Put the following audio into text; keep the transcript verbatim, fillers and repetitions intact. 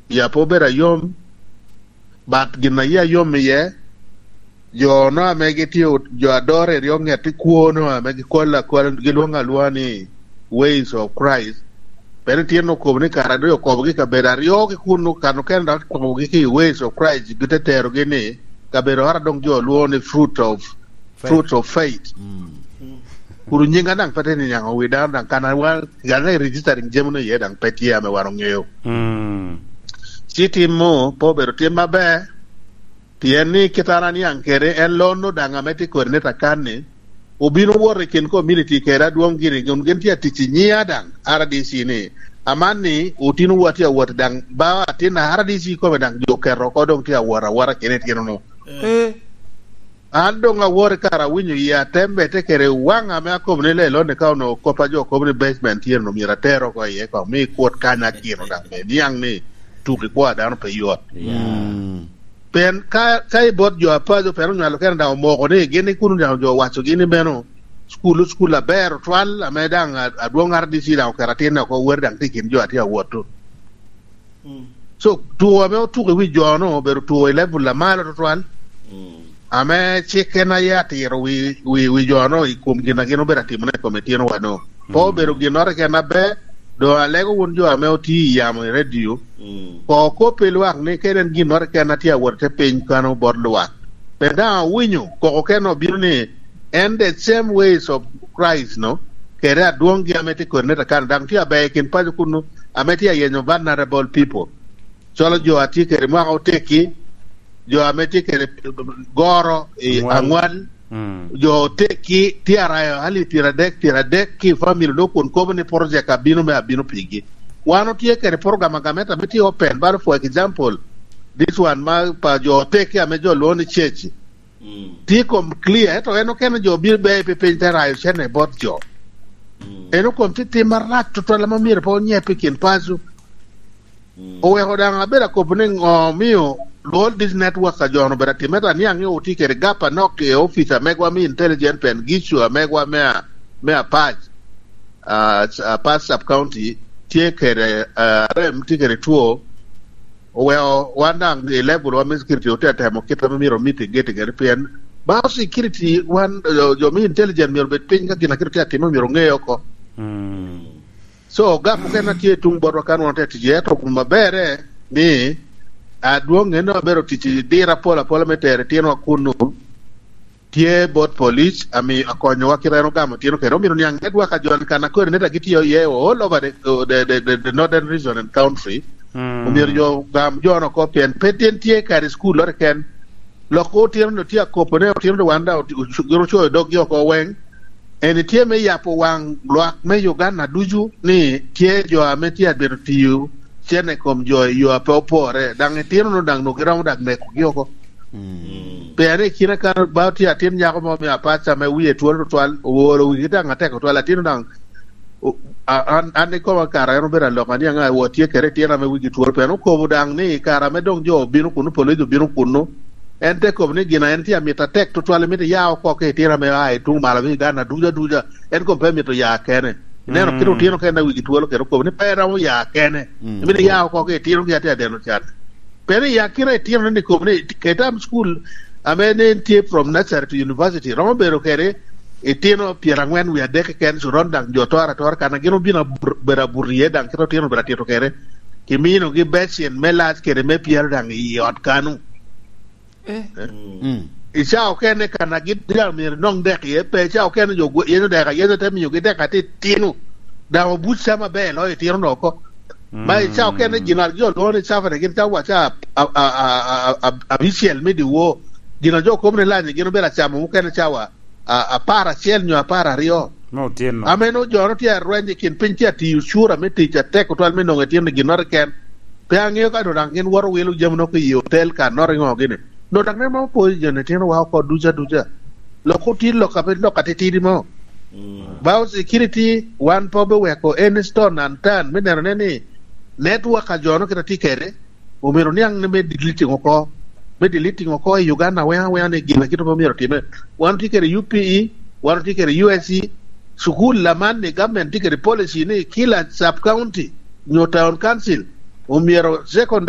ya pe obedo ayom, but gin a yia yom iye, jo-nu ame gitye, jo a dore i ryo ŋet i kwo-nu ame gikolo akola, gilwoŋo alwoŋa ni Ways of Christ. Pien itino okobo ni kara doŋ okobogi i kabedo aryo ki kunnu, kan okene dok okobogi ki i Ways of Christ, gite terogi ni kabedo ora doŋ jo lwoŋo ni fruit of, fruits of faith. Kun nyinga daŋ pe te niaŋ owi dano daŋ, kan wan, kan i registering jami-nu iye daŋ pe tye ame wan oŋeo. Ci timmu pe obedo tim aber, pien ni kit an aniaŋ kede en, lo-nu daŋ ame tye kodi neta kan-ni, obino wot i kin community kede adwoŋ gini, kun gin tye atic i nyiŋa daŋ, R D C ni, amanni otinowu atye awot daŋ, ba atin a R D C kome daŋ jo oketo oko doŋ tye awot awota kede itino-nu. An doŋ awot i kare awinyo yie atembe te kede waŋ ame akobo ni lelo ni ka onwoŋo kop a jo kobo ni basement tye no myero ater oko iye koŋ mi kwot kany akino daŋ me niaŋ ni tuk i kwo a dano pe yot. Pien ka, ka i bot jo apaco pien onywalo kene daŋ omoko ni gin i kuno daŋ jo owacogi ni meno cukul, cukul aber otwal ame daŋ a-, adwoŋ R D C daŋ oketo atinne oko weri daŋ tye i kin jo a tye awot-tu. So, tuko ame otuko i wi jo-nu obedo tuko i level a malo tutwal, ame cik en aye atiro wi, wi, wi jo-nu i kom gin a gin obedo atimone i kom itinowa-nu. Pe obedo ginnoro keken aber, doŋ alego wun jo ame otye i yamo i redio, koŋ okop i lwak ni kede en ginnoro keken a tye awot i te piny kano bot lwak. Pien daŋ awinyo koko kene obino ni, en the same ways of Christ-nu, kede adwoŋgi ame tye kodi neta kan daŋ tye aber i kin paco kunnu, ame tye ayenyo vulnerable people, calo jo a tye kede mwaka otekki, jo ame tye kede goro i aŋwal, jo otekki tye arayo alip pyeradek, pyeradek ki family do kun kobo ni project abino me abino pigi. Wan otye kede program a gamente ame tye open, but for example, this one ma pa jo otekki ame jo lwongo ni church, tye kom clear, ento en okene jo bino beo pe piny te rayo cene bot jo. En okom tye tim marac tutwal ame myero pe onyep i kin paco. Oweko daŋ abedo akobo ni ŋo omio all this network a jo-nu obedo atime, ento aniaŋ ni otye kede gap anok i opic amegwa me intelligence pen gicu amegwa me a-, me Apac, ah, Apac sub county tye kede, ah, rem tye kede two. Oweko wan daŋ i level wa me security otye atemo kit ame myero omiti geti kede pien ba security wan, jo, jo me intelligence myero obed piny ka gin a kit otye atime myero oŋe oko. So, gap mukene a tye i tuŋ botwa kan wan otye tic iye, ento maberre ni adwoŋ en abedo tic i diro apol apola me tero itinowa kunnu. Tye bot police, ami-, akonyowa kit en ogamo tino kede. Omito niaŋ network a jo kan a kodi neta gitye iye all over the, the, the, the, the northern region and country. Omyero jo gam jo-nu oko pien pe tin tye kare i school lore ken. Lok otino-nu tye akopone, otino-nu wan daŋ oti-, ocu-, gin ocoyo doggi oko weŋ. En tye me yabo waŋ lwak me Uganda ducu ni tye jo ame tye abedo tiyo cene i kom jo i yo a pe opore, daŋ itino-nu daŋ nwoŋo giromo daŋ nekogi oko. Pien i kine kan ba tye atin nyako mo me Apac ame wie twol tutwal, oolo wigi daŋ atek tutwal, atin daŋ, o-, a-, an, an ikoma kara en obedo alok, aniaŋ a wot tye kede itino ame wigi twol, pien okobo daŋ ni i kare ame doŋ jo obino kunnu, police obino kunnu, en te kobo ni gin a en tye amito atek tutwal, mito ya oko ki itino ame a i tuŋ malo me Uganda ducu aduca, en kono pe mito ya kene. Ineno kit otino kene a wigi twolo kede okobo ni pe romo ya kene. Mito ya oko ki itino gi atye adeno can. Pien i akina itino ni kobo ni ke tam school ame ne en tye from nursery to university, romo bedo kede itino pyerangwen wie adek keken, curon daŋ jo toro atora kan a gin obino abur-, bedo abur iye, daŋ kit otino bedo atito kede. Kiminogi becin me lac kede me pyero daŋ i ot kanu. Eh. I cawa okene kan a gin daŋ myero nong dek iye, pe i cawa okene jo gwe-, yenyo dek, yenyo te miyogi dek atir tino. Daŋ obuc ca maber loyo itino-nu oko. Ma i cawa okene gin a jo lwongo ni cafene gin cawa ca a-, a-, a-, a-, a-, abicel me dyewor. Gin a jo kobo ni lany gin obedo acamo mukene cawa a-, apar acel nyo apar aryo. Me otyeno. Ame nwoŋo jo-nu tye arweny i kin piny tye atiyo cura me tic atek otwal me nwoŋo itino ginnoro keken. Pe aŋeo ka nwoŋo daŋ gin woto wilo jami-nu oko i otel ka noro iŋo gini. Nwoŋo daŋ nen ma opoyo joni itinowa oko ducu aduca. Lok otit lok a pe lok atitidi mo. Ba security wan pe obiweko any stone unturned me nenone ni network a jo-nu kite tye kede, omyero niaŋ ni me deleting oko, me deleting oko i Uganda weŋ aweŋa ni gin a kite pe myero otime. Wan otye kede U P E, wan otye kede U S C, cukul aman ni government tye kede policy ni kila sub county nyo town council omyero second